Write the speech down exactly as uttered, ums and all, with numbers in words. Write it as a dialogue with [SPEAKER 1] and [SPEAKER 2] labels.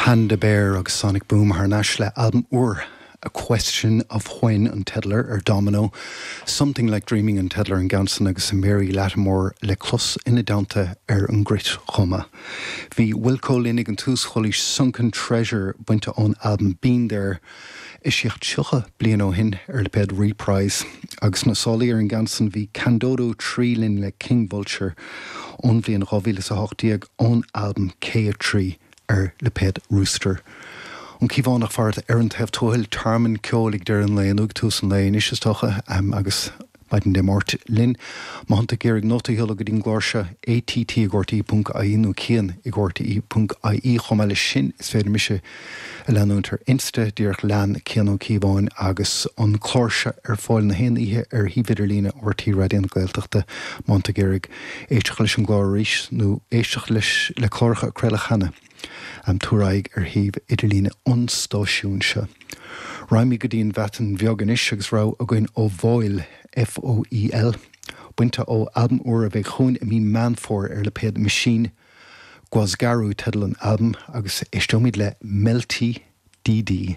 [SPEAKER 1] Panda Bear agus Sonic Boom thar n-ais le albam úr A Question of When an teideal air ar Domino, Something Like Dreaming an teideal ar an gceann san agus Mary Lattimore le clos ina dteannta ar an gcruit chomh maith. Bhí Wilco linn ag an tús chualaís Sunken Treasure bainte ón albam Been There eisíodh tríocha bliain ó shin ar lipéad Reprise agus na sálaí ar an gceann san bhí Kandodo trí linn le King Vulture ón bhliain dhá mhíle is a hocht déag ón albam K a trí ar lipéad Rooster. An Cíobhánach fart ar an taobh tuathail tearmann ceoil ag deireadh an lae nó ag tús an lae anois is dócha agus maidin Dé Máirt linn. Má thánn tú ag iarraidh nóta a sheoladh go dtí an gclár seo ATT ag RTE ponc IE nó Cian ag RTE ponc IE chomh maith leis sin is féidir mise a leanúint ar Insta díreach lean Cian Ó Cíobháin agus an clár seo ar fáil na haon oíche ar shuíomh idirlíne RTÉ Raidió na Gaeltachta má tá tú ag iarraidh éisteacht leis an gclár arís nó éisteacht leis le cláracha a craoladh cheana. Um, tabhair aghaidh ar shuíomh idirlíne an stáisiúin seo. Raghaimid go dtí an Bhreatain Bheag anois agus rogha againn ó Foel FOEL, bainte ó albam úr a bheidh chugainn i mí Meán Fómhair ar lipéad Machine Gwasgaru teideal an albaim agus éisteoimid le Melty DD.